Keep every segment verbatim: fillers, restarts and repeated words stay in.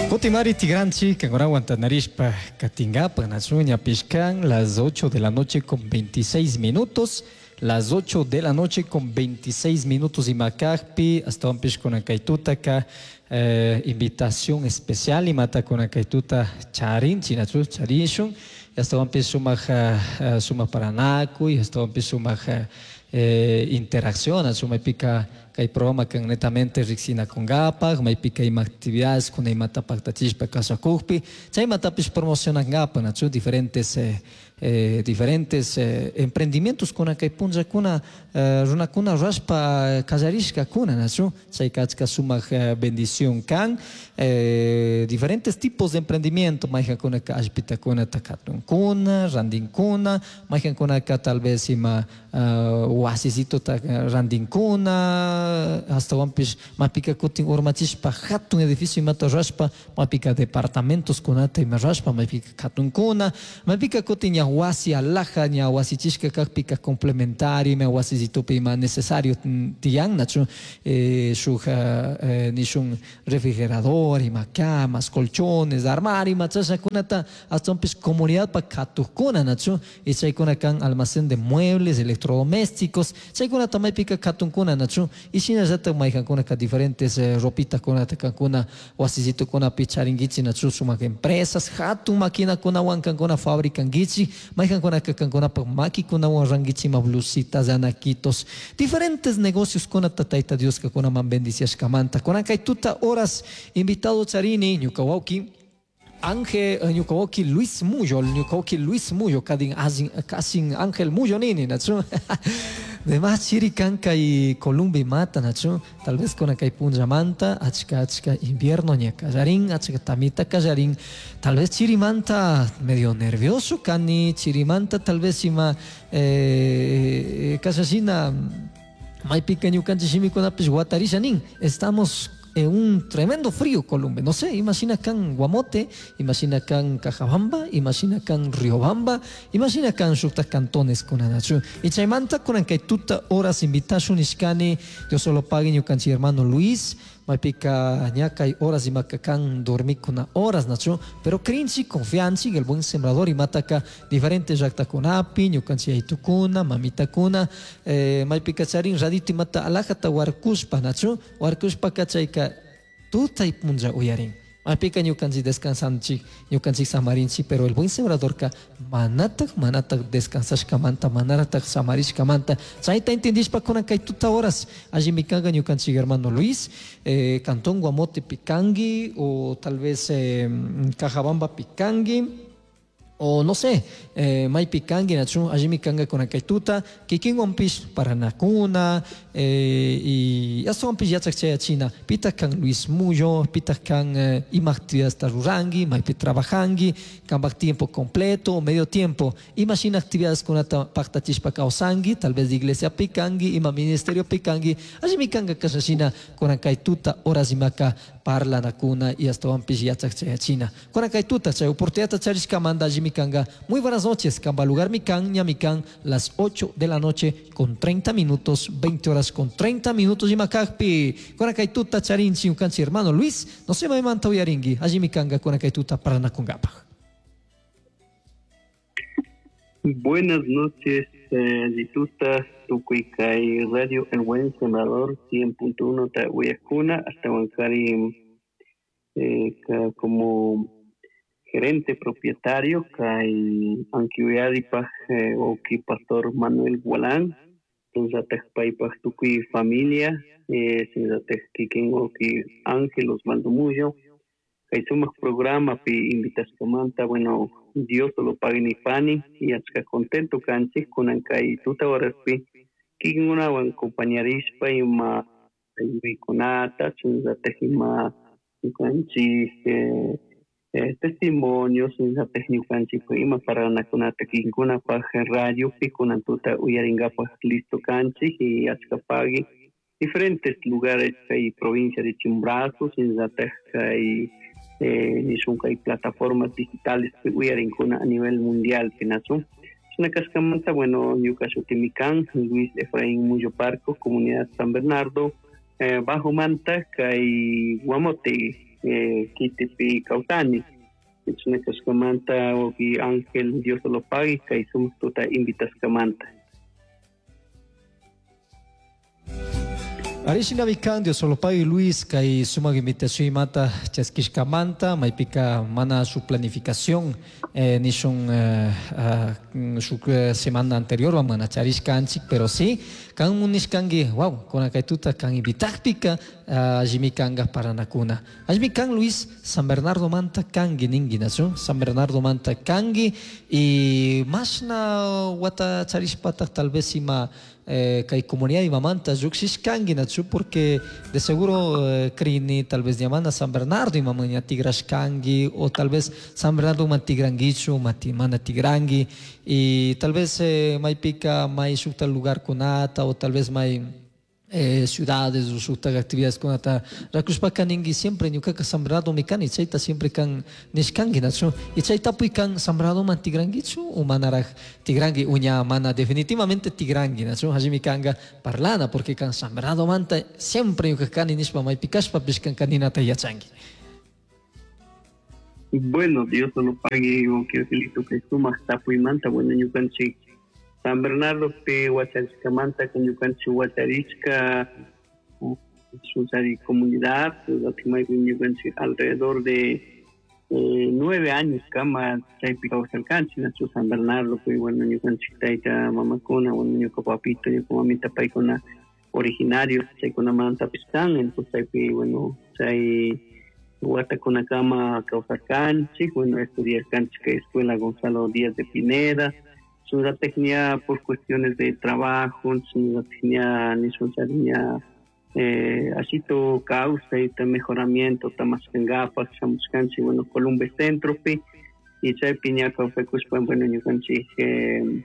Cutimari Tigranchi, kankunawan tantarishpa katinkapak nachu ñapish kan las ocho de la noche con veintiséis minutos. Las ocho de la noche con veintiséis minutos imakakpi, astawanpish kunan kay tutaka eh, invitación especial imata kunan kay tuta charinchik nachu charishun, astawanpish sumak, eh, sumak paranakuy, astawanpish sumak, eh, interacción nachu maypika kay programa kan netamente riksinakunkapak, maypika ima actividades kuna imata paktachishpa kawsakukpi, chaymatapish promocionankapak nachu diferentes, eh, eh, diferentes, eh, emprendimientos kuna kay punllakuna, eh, runakuna rurashpa kallarishkakuna nachu, chayka achka sumak, eh, bendición kan, eh, diferentes tipos de emprendimiento, mayjankunaka allpitakunata katunkuna, randinkuna, mayjankunaka tal vez ima, eh, wasisitota randinkuna, astawanpish mapika kutin urmachishpa hatun edificio imata rurashpa, mapika departamentos kunata ima rurashpa, mapika katunkuna, mapika kutin ña wasi alaja, ña wasichishka kakpika complementario, ima wasisitupi ima necesario tiyan, nachu, eh, shuk, eh, nishun refrigerador, ima camas, colchones, armario, ima chashakunata, astawanpish comunidad pa katukuna, nachu, y chaykuna kan almacén de muebles, electrodomésticos, chaykunata maypika katunkuna, nachu, y shinallatak mayjankunaka diferentes, eh, ropitakunata kankuna wasisitukunapi charinkichik, nachu, sumak empresas, hatun maquinakunawan kankuna fabricankichik, mayjankunaka kankunapak makikunawan rankichik ima blusitas, anaquitos, diferentes negocios kunata Tayta Dioska kunaman bendiciashkamanta. Kunan kay tuta horas invitado charini ñuka wawki Ángel, eh, ñuka wawki Luis Muyo, ñuka wawki Luis Muyo, kadin azin, kasin Ángel Muyo nini, nachu. Demás chiri kan kay Colombia mata, nachu, tal vez con kay punllamanta, achka achka invierno ña kallarin, achka tamita kallarin, tal vez chirimanta medio nervioso kani, chirimanta tal vez ima, eh, kasasina, maypika ñukanchik shimikunapish watarisha nin, estamos en un tremendo frío, Colombia. No sé, imagina kan Guamote, imagina kan Cajabamba, imagina kan Riobamba, imagina kan shukta cantones kunanachu. Y chaymanta kunan kay tuta horas invitashun ishkani, Dios solo pague ñukanchik hermano Luis, maypika ñakay horas imaka kan dormikuna horas nachu, pero crinchi, confianchi, el buen sembrador imataka diferentes llaktakunapi, ñukanchik aytukuna, mamitakuna, eh, maypika charin radito imata alajata warkushpa nachu, warkushpa kachayka tutay punlla uyarin. Maypika ñukanchik descansanchik, ñukanchik samarinchik, pero el buen sembradorka manatak, manatak descansashkamanta, manatak samarishkamanta. Chayta entendishpa kunan kay tuta horas, allí mikanga ñukanchik hermano Luis, eh, Cantón Guamote pikangi, o tal vez, eh, Cajabamba pikangi, o no sé, eh, maypikangi nachu, allí mikanga kunan kay tuta, kikinwanpish paranakuna, eh, y astawanpish yachak chayachina, pita kan Luis Muyo, pita kan, eh, ima actividad rurangi, maypi trabajangi, kanpak tiempo completo, medio tiempo, imagina actividades kunata paktachishpa kawsangi, tal vez de iglesia pikangi, ima ministerio pikangi, allí mikanga kashashina kunan kay tuta horas imaka parlanakuna y astawanpish yachak chayachina. Kunan kay tuta chay oportunidad charishkamanta allí mikanga. Muy buenas noches, kamba lugar mikan, ñamikan, las ocho de la noche con treinta minutos, veinte horas con treinta minutos imakakpi. Kunan kay tuta charinchi ukanchi hermano Luis, no se me manta uyaringi, allí mikanga kunan kay tuta paranakunkapaj. Buenas noches, eh, Lituta, Tucuicay, Radio El Buen Sembrador, cien punto uno Tahuiacuna, hasta Huancari, eh, ca-, como gerente propietario, kay Anquiuyadipaj, eh, oki pastor Manuel Gualán, entonces paipaj tukuy familia, eh, sinzataj kikin oki Ángel Osvaldo Muyo, kay sumaq programa pi invitashkamanta, bueno, Dios lo pague ni pani, y achka contento kanchik kunan kay tuta horaspi kikinkunawan compañarishpa ima ayuykunata, sinzataj ima ñukanchik, eh, eh, testimonios, sinzataj ñukanchik ima paranakunata kikinkunapaj radio pi kunan tuta uyaringapaj listo kanchik y achka pagui diferentes lugares kay provincia de Chimborazo, sinzataj kay, eh, nishun kay plataformas digitales uyarinkuna a nivel mundial pinazu. Una cascamanta, bueno, ñuka shutimikan, Luis Efraín Muyo Parco, Comunidad San Bernardo, eh, Bajo Manta, kay Guamote, eh, kitipi kawsani. Chashna kashkamanta wawqi Ángel Dios lo pague kay sumak tuta invitashkamanta. Arishinami kan Dios lo pague Luis kay sumak invitación imata chaskishkamanta maypika mana su planificación eh, nishun eh, uh, su semana anterior mana charishkanchik, pero sí kan munishkanki wow con kay tuta kan invitakpika allimi kanga paranakuna. Allimi kan Luis San Bernardo manta kangi ningi nachu San Bernardo manta kangi y mashna wata charishpata tal vez ima eh, kay comunidad imamanta lluqshishkanki nachu porque de seguro eh, crini tal vez ñamana San Bernardo imamaña tigrashkanki o tal vez San Bernardo man tigranguichu mati mana tigrangi y tal vez eh, maypika may shukta lugar kunata o tal vez may eh, ciudades o shukta actividades kunata rakushpaka ningi siempre ñukaka San Bernardo mikani chayta siempre kan nishkanki nachu y chaytapuy kan San Bernardo man tigranguichu o manaraj tigrangi uña mana definitivamente tigrangi nachu allimi kanga parlana porque kan San Bernardo manta siempre ñuka kani nishpa maypikashpapish kan kaninata yachanki. Bueno, Dios lo pague, wawqi Angelito kay sumak tapuymanta. Bueno, ñukanchik San Bernardo pi wacharishkamanta ñukanchik wacharishka shunchari comunidad maypi ñukanchik alrededor de eh, nueve años kama chaypi kawsarkanchik nachu San Bernardo pi. Bueno, ñukanchik tayta mamakuna, bueno, ñuka papito, ñuka mamita paykuna originarios chaykunamantapis kan, entonces chaypi bueno chay watakunakama kawsarkanchik. Bueno, estudiarkanchik kay escuela Gonzalo Díaz de Pineda. Shunratikña por cuestiones de trabajo, shunratikña nishunchariña eh, ashito kawsayta mejoramiento tamaskankapak shamushkanchik bueno Columbe Centropi y chaypi ña kawsakushpa bueno ñukanchik eh,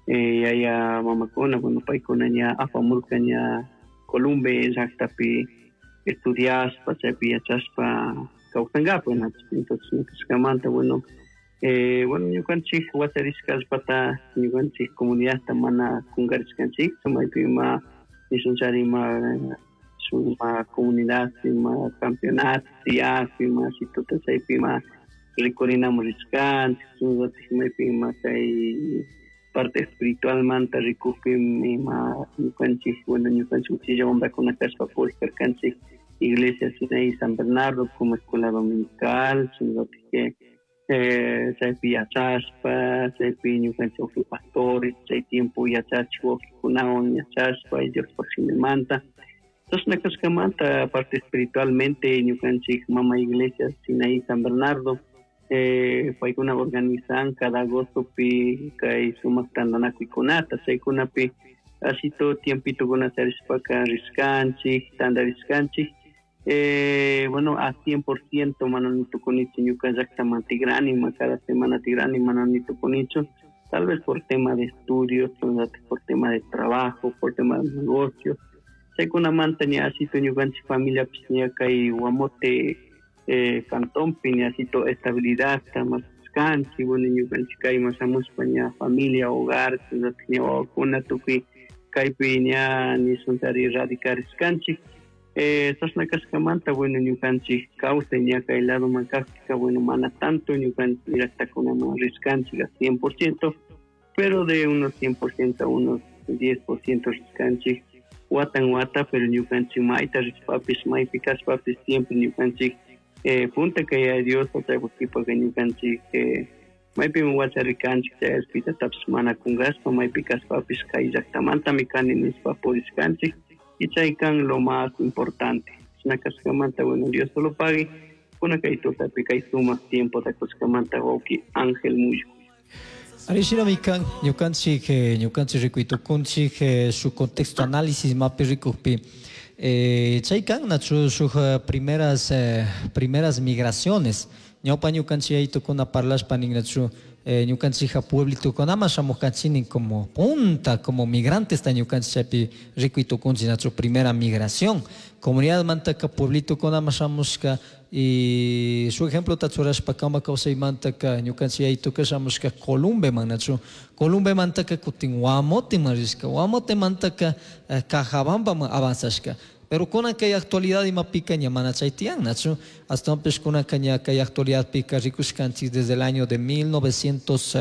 eh, yaya mamakuna bueno paykuna ña apamurka ña Columbe llaqtapi estudiaspa chaypi yachaspa kawsankapak entonces ñukanchikmanta bueno Eh, bueno ñukanchik wacharishkallpata ñukanchik comunidadta mana kunkarishkanchik maypi ima nishunchari ima shuk ima comunidad ima campeonato tiyakpi ima shituta chaypi ima rikurinamun rishkanchik shunllatik maypi ima chay parte espiritualmanta rikukpi ima ñukanchik bueno ñukanchik uchilla wambrakuna kashpa purikarkanchik iglesia Sinaí San Bernardo como escuela dominical shunllatik que eh, chaypi yachashpa chaypi ñukanchik wawqi pastores chay tiempo yachachik wawqikunawan yachashpa Diospaq shimimanta. Chashna kashkamanta parte espiritualmente ñukanchik mama iglesia Sinaí San Bernardo eh, paykuna organizan cada agostopi kay sumak tantanakuykunata chaykunapi ashito tiempitokuna charishpaka rishkanchik tantarishkanchik. Eh, bueno, a cien por ciento mana nitukunichu ñuka llaqtaman tigrani, ma cada semana tigrani mana nitukunichu, tal vez por tema de estudios, por tema de trabajo, por tema de negocios. Chaykunamanta ña ashito ñukanchik familiapish ña kay Guamote eh, cantonpi ña ashito estabilidad mashkanchik, bueno ñukanchik kayman shamushpa ña familia, hogar, ña wawakuna tukuy kaypi ña nishunchari radicarishkanchik. Eh, chashna kashkamanta bueno ñukanchik kawsay ña kay ladoman kajpika bueno mana tanto ñukanchik llaqtakunaman rishkanchik a cien por ciento, pero de unos cien por ciento a unos diez por ciento rishkanchik watan wata, pero ñukanchik mayta rishpapish maypi kashpapish siempre ñukanchik eh, punta kay Dios chaypukipaka ñukanchik eh, maypimi wacharikanchik chay allpitatapish mana kunkashpa maypi kashpapish kay llaqtamantami kani nishpa purishkanchik y chay kan lo más importante. Chashna kashkamanta bueno Dios solo pague kuna kay tutapi kay sumak tiempo takushkamanta wawqi Ángel Muyo. Arishinami kan ñukanchik ñukanchik rikuytukunchik su contexto análisis mapi rikukpi eh, chay kan nachu shuk primeras eh, primeras migraciones ñawpa ñukanchik aytukuna parlashpa ninnachu eh, ñukanchija pueblitukunama shamukanchini como punta, como migrantes ta ñukanchik chaypi rikuytukunchik nachu primera migración comunidad mantaka pueblitukunama shamushka y su ejemplo ta churashpa kama kawsaymantaka ñukanchik aytuka shamushka Columbeman nachu Columbe mantaka kutin Guamoteman rishka Guamote mantaka eh, Cajabambaman avanzashka. Pero kunanka kay actualidad imapika ña mana chay tiyan, nachu? Ashtawanpish kunanka ña kay actualidadpika rikushkanchik desde el año de mil novecientos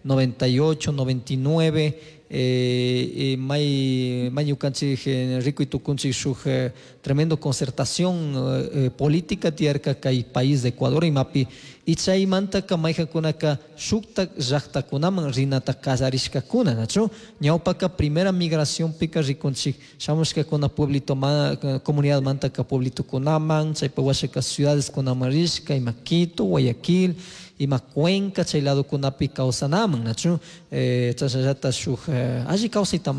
noventa y ocho, noventa y nueve, eh, may, may ñukanchik, eh, rikuy tukunchik shuk, eh, tremendo concertación, eh, política tiyarka kay país de Ecuador imapi, y chaymantaka mayjankunaka shuktak llaktakunaman rinata kallarishkakuna, nachu? Ñawpaka primera migracionpika rikunchik shamushkakuna pueblito ma, comunidad mantaka pueblitokunaman, chaypa washaka ciudadeskunaman rishka, ima Quito, Guayaquil, ima Cuenca, chay ladokunapi kawsanaman, nachu? Eh, chashnallata shuk, eh, alli kawsayta